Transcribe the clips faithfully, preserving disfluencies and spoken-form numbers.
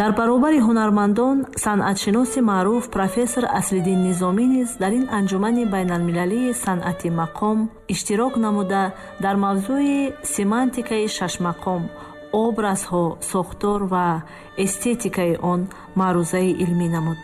Дар баробари ҳунармандон, санъатшиноси маъруф профессор Аслиддин Низомӣ низ дар ин анҷумани байналмилалии санъати мақом иштирок намуда, дар мавзӯи семантикаи шашмақом, образҳо, сохтор ва эстетикаи он маърузаи илмӣ намуд.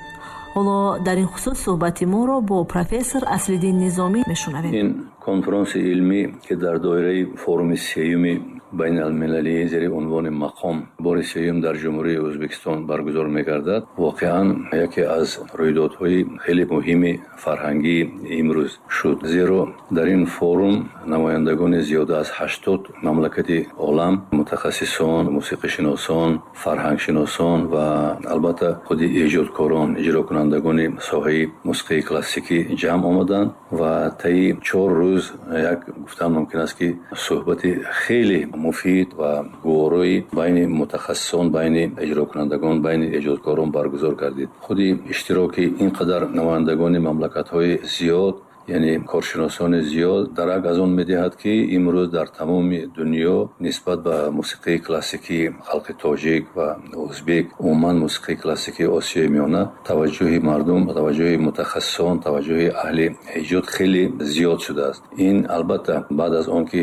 Ҳоло дар ин хусус суҳбати моро бо профессор Аслиддин Низомӣ мешунавем. Ин конфронси илмӣ, ки дар доираи форуми сеюми байналмилалии зери унвони мақом бори сеюм дар Ҷумҳурии Ӯзбекистон баргузор мегардад, воқеан яке аз рӯйдодҳои хеле муҳими фарҳангии имрӯз шуд, зеро дар ин форум намояндагони зиёда аз ҳаштод мамлакати олам, мутахассисон, мусиқишиносон, фарҳангшиносон ва албатта худи эҷодкорон, иҷрокунандагони соҳаи мусиқии классикӣ ҷамъ омаданд ва таи чор рӯз як гуфтан мумкин аст, ки суҳбати хеле муфид ва гуворои байни мутахассисон, байни иҷрокунандагон, байни эҷодкорон баргузор гардид. Худи иштироки ин қадар намояндагони мамлакатҳои зиёд, яъне коршиносони зиёд, дарак аз он медиҳад, ки имрӯз дар тамоми дунё нисбат ба мусиқии классикии халқи тоҷик ва ӯзбек, умуман мусиқии классикии Осиёи Миёна таваҷҷӯҳи мардум, таваҷҷӯҳи мутахассисон, таваҷҷӯҳи аҳли эҷод хеле зиёд шудааст. Ин албатта баъд аз он ки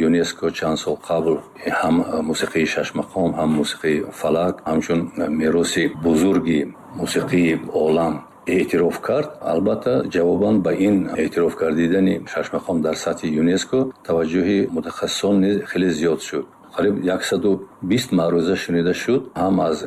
ЮНЕСКО чанд сол қабл ҳам мусиқии шашмақом, ҳам мусиқии фалак ҳамчун мероси бузурги мусиқии олам эътироф кард, албатта ҷавобан ба ин эътироф гардидани шашмақом дар сатҳи ЮНЕСКО таваҷҷӯҳи мутахассисон низ хеле зиёд шуд. Қариб яксаду бист маъруза шунида шуд ҳам аз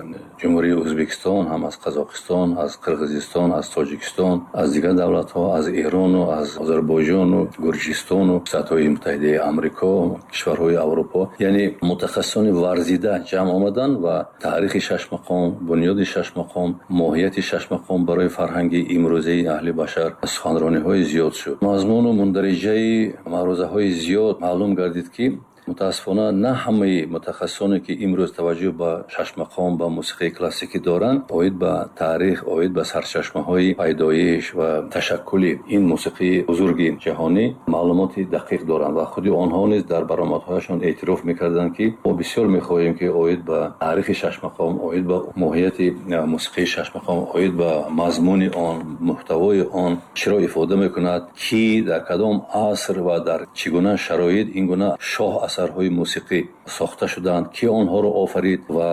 Ҷумҳурии Ӯзбекистон, ҳам аз Қазоқистон, аз Қирғизистон, аз Тоҷикистон, аз дигар давлатҳо, аз Эрону аз Озарбойҷону Гурҷистону Штатҳои Муттаҳидаи Амрико, кишварҳои Аврупо. Яъне мутахассисони варзида ҷамъ омаданд ва таърихи шашмақом, бунёди шашмақом, моҳияти шашмақом барои фарҳанги имрӯзаи аҳли башар суханрониҳои зиёд шуд. Мазмуну мундариҷаи маърузаҳои зиёд маълум гардид, ки мутаассифона на ҳамаи мутахассисоне, ки имрӯз таваҷҷӯҳ ба шашмақом, ба мусиқии классикӣ доранд, оид ба таърих, оид ба сарчашмаҳои пайдоиш ва ташаккули ин мусиқии бузурги ҷаҳонӣ маълумоти дақиқ доранд ва худи онҳо низ дар баромадҳояшон эътироф мекарданд, ки мо бисёр мехоҳем, ки оид ба таърихи шашмақом, оид ба моҳияти мусиқии шашмақом, оид ба мазмуни он, муҳтавои он чиро ифода мекунад, ки дар кадом аср ва дар чӣ гуна шароит ин гуна шоҳ асарҳои мусиқӣ сохта шуданд, ки онҳоро офарид ва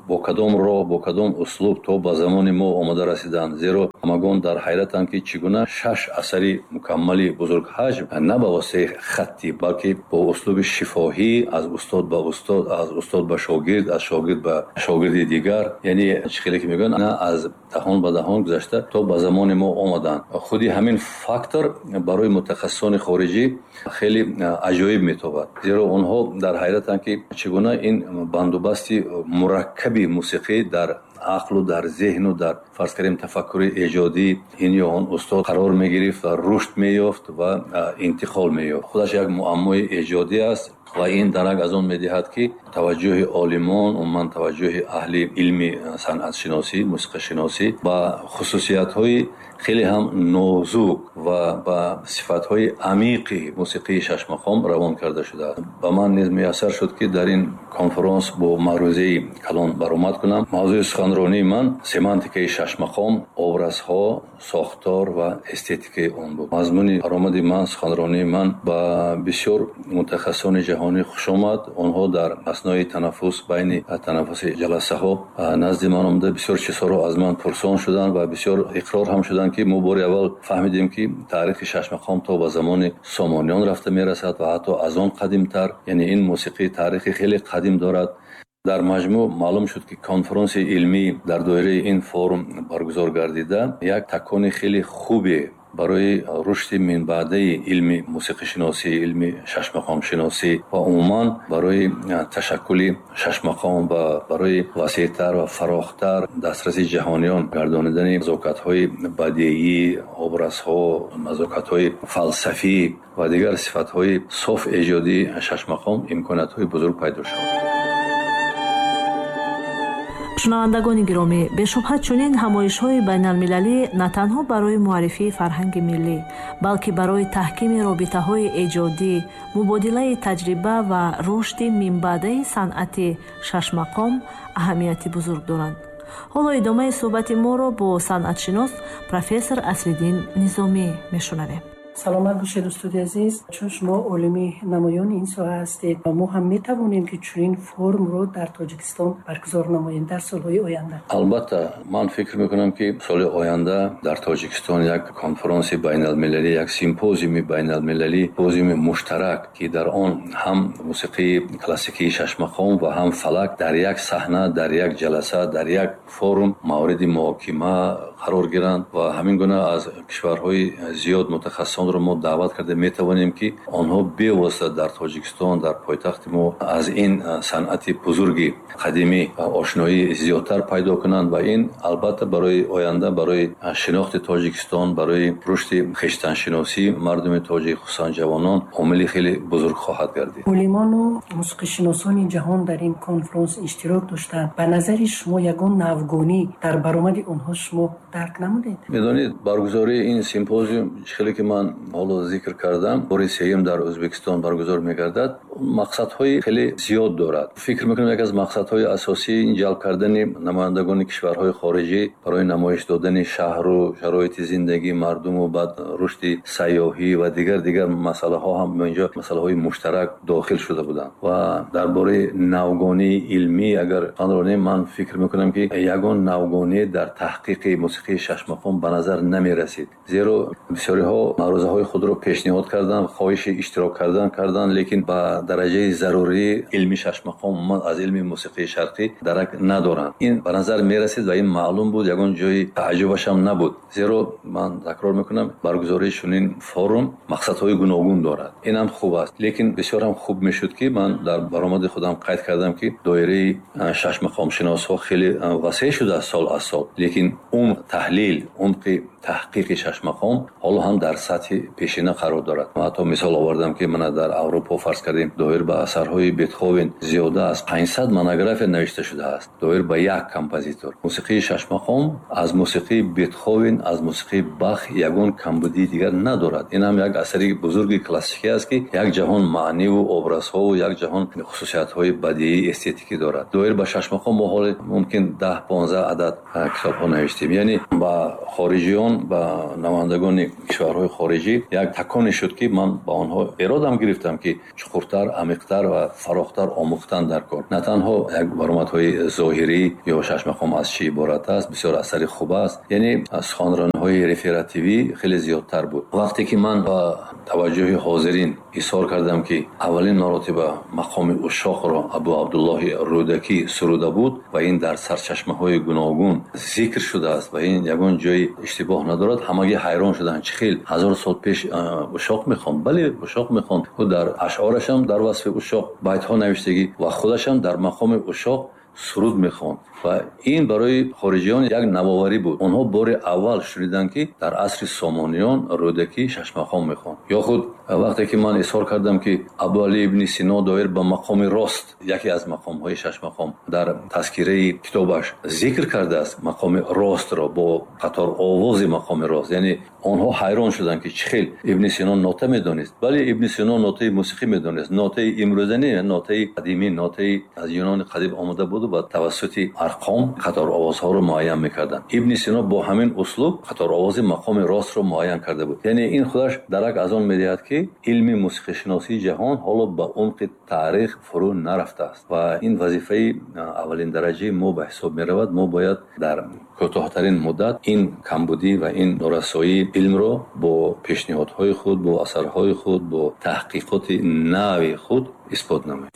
бо кадом роҳ, бо кадом услуб то ба замони мо омода расиданд. Зеро ҳамагон дар ҳайратанд, ки чӣ гуна шаш асари мукаммали бузургҳаҷм на ба воситаи хаттӣ, балки бо услуби шифоҳӣ аз устод ба устод, аз устод ба шогирд, аз шогирд ба шогирди дигар, яъне чӣ хеле ки мегӯянд, на аз даҳон ба даҳон гузашта то ба замони мо омаданд. Худи ҳамин фактор барои мутахассисони хориҷӣ хеле аҷоиб метобад, зеро онҳо дар ҳайратанд, ки чӣ гуна ин бандубасти мураккаби мусиқӣ дар ақлу дар зеҳну дар фарз кардем тафаккури эҷодӣ ин ё он устод қарор мегирифт ва рушд меёфт ва интиқол меёфт. Худаш як муаммои эҷодӣ аст ва ин дарак аз он медиҳад, ки таваҷҷӯҳи олимон, умуман таваҷҷӯҳи аҳли илми санъатшиносӣ, мусиқашиносӣ ба хусусиятҳои хеле ҳам нозук ва ба сифатҳои амиқи мусиқии шашмақом равон карда шудааст. Ба ман низ муяссар шуд, ки дар ин конфронс бо маърузаи калон баромад кунам. Мавзӯи суханронии ман семантикаи шашмақом, образҳо, сохтор ва эстетикаи он буд. Мазмуни баромади ман, суханронии ман ба бисёр мутахассисони ҷаҳонӣ хуш омад. Онҳо дар аснои танаффус, байни танаффуси ҷаласаҳо назди ман омада, бисёр чизҳоро аз ман пурсон шуданд ва бисёр иқрор ҳам шуданд, ки мо бори аввал фаҳмидем, ки таърихи шашмақом то ба замони Сомониён рафта мерасад ва ҳатто аз он қадимтар, яъне ин мусиқӣ таърихи хеле қадим дорад. Дар маҷмӯъ маълум шуд, ки конфронси илмӣ дар доираи ин форум баргузор гардида як такони хеле хубе барои рушди минбаъдаи илми мусиқишиносӣ, илми шашмақомшиносӣ ва умуман барои ташаккули шашмақом ва барои васеътар ва фарохтар дастраси ҷаҳониён гардонидани назокатҳои бадеӣ, образҳо, назокатҳои фалсафӣ ва дигар сифатҳои соф эҷодии шашмақом имкониятҳои бузург пайдо шуд. Шунавандагони гиромӣ, бешубҳа чунин ҳамоишҳои байналмилалӣ на танҳо барои муаррифии фарҳанги миллӣ, балки барои таҳкими робитаҳои эҷодӣ, мубодилаи таҷриба ва рушди минбаъдаи санъати шашмақом аҳамияти бузург доранд. Ҳоло идомаи суҳбати моро бо санъатшинос профессор Аслиддин Низомӣ мешунавем. Саломат бошед, устоди азиз. Чун шумо олими намоёни ин соҳа ҳастед, мо ҳам метавонем ки чунин форумро дар Тоҷикистон баргузор намоем дар солҳои оянда? Албатта, ман фикр мекунам, ки соли оянда дар Тоҷикистон як конфронси байналмилалӣ, як симпозиуми байналмилалӣ, симпозиуми муштарак, ки дар он ҳам мусиқии классикии шашмақом ва ҳам фалак дар як саҳна, дар як ҷаласа, дар як форум мавриди муҳокима қарор гиранд ва ҳамин гуна аз кишварҳои зиёд мутахассисонро мо даъват карда метавонем, ки онҳо бевосита дар Тоҷикистон, дар пойтахти мо аз ин санъати бузурги қадимӣ ошноии зиёдтар пайдо кунанд ва ин албатта барои оянда, барои шинохти Тоҷикистон, барои рушди хештаншиносии мардуми тоҷик, хусусан ҷавонон, омили хеле бузург хоҳад гардид. Олимону мусиқишиносони ҷаҳон дар ин конфронс иштирок доштанд. Ба назари шумо ягон навгонӣ дар баромади онҳо шумо дарк намудед? Медонед, баргузории ин симпозиум, хеле ки ман ҳоло зикр кардам, бори сеюм дар Ӯзбекистон баргузор мегардад, мақсадҳои хеле зиёд дорад. Фикр мекунам, яке аз мақсадҳои асосӣ ин ҷалб кардани намояндагони кишварҳои хориҷӣ барои намоиш додани шаҳру шароити зиндагии мардуму баъд рушди сайёҳӣ ва дигар дигар масъалаҳо ҳам инҷо масъалаҳои муштарак дохил шуда буданд. Ва дар бораи навгонии илмӣ агар сухан ронем, ман фикр мекунам, ки ягон навгонӣ дар таҳқиқи мусиқии шашмақом ба назар намерасид, зеро бисёриҳо маърузаҳои худро пешниҳод карданд, хоҳиши иштирок кардан карданд, лекин ба дараҷаи зарурии илми шашмақом, умуман аз илми мусиқии шарқӣ дарак надоранд. Ин ба назар мерасид ва ин маълум буд, ягон ҷои тааҷҷубаш ҳам набуд, зеро ман такрор мекунам, баргузории чунин форум мақсадҳои гуногун дорад. Ин ҳам хуб аст, лекин бисёр ҳам хуб мешуд, ки ман дар баромади худам қайд кардам, ки доираи шашмақомшиносҳо хеле васеъ шудааст сол аз сол, лекин умқ таҳлил, умқи таҳқиқи шашмақом ҳоло ҳам дар сатҳи пешина қарор дорад. Ман ҳатто мисол овардам, ки мана дар Аврупо, фарз кардем, доир ба асарҳои Бетховен зиёда аз панҷсад монография навишта шудааст, доир ба як композитор. Мусиқии шашмақом аз мусиқии Бетховен, аз мусиқии Бах ягон камбудии дигар надорад. Ин ҳам як асари бузурги классикӣ аст, ки як ҷаҳон маъниву образҳову як ҷаҳон хусусиятҳои бадиӣ, эстетикӣ дорад. Доир ба шашмақом мо ҳоле мумкин даҳ понздаҳ адад китобҳо навиштем. Яъне ба хориҷиён, ба намояндагони кишварҳои хориҷӣ як таконе шуд, ки ман ба онҳо эродам гирифтам, ки чуқуртар, амиқтар ва фарохтар омӯхтан дар кор. На танҳо як баромадҳои зоҳирӣ ё шашмақом аз чӣ иборат аст, бисёр асари хуб аст, яъне суханрониҳои реферативӣ хеле зиёдтар буд. Вақте ки ман ба таваҷҷӯҳи ҳозирин изҳор кардам, ки аввалин маротиба мақоми ушшоқро Абу Абдуллоҳи Рӯдакӣ суруда буд ва ин дар сарчашмаҳои гуногун зикр шудааст ва ин ягон ҷои иштибоҳ надорад, ҳамагӣ ҳайрон шуданд: чӣ хел ҳазор сол пеш ушшоқ мехонд? Бале, ушшоқ мехонд. Ӯ дар ашъорашам дар васфи ушшоқ байтҳо навиштагӣ ва худашам дар мақоми ушшоқ суруд мехонд ва ин барои хориҷиён як навоварӣ буд. Онҳо бори аввал шуниданд, ки дар асри Сомониён Рӯдакӣ шашмақом мехонд. Ё худ вақте ки ман изҳор кардам, ки Абуалӣ ибни Сино доир ба мақоми рост, яке аз мақомҳои шашмақом, дар тазкираи китобаш зикр кардааст мақоми ростро бо қатор овози мақоми рост, яъне онҳо ҳайрон шуданд, ки чӣ хел Ибни Сино нота медонист. Бале, Ибни Сино нотаи мусиқӣ медонист, нотаи имрӯза не, нотаи қадимӣ, нотаи аз Юнони қадим омода буду ба тавассути арқом қатор овозҳоро муайян мекарданд. Ибни Сино бо ҳамин услуб қатор овози мақоми ростро муайян карда буд. Яъне ин худаш дарак аз он медиҳад, ки илми мусиқишиносии ҷаҳон ҳоло ба умқи таърих фурӯ нарафтааст ва ин вазифаи аввалин дараҷаи мо ба ҳисоб меравад. Мо бояд дар кӯтоҳтарин муддат ин камбудӣ ва ин норасоии илмро бо пешниҳодҳои худ, бо асарҳои худ, бо таҳқиқоти нави худ исбот намоем.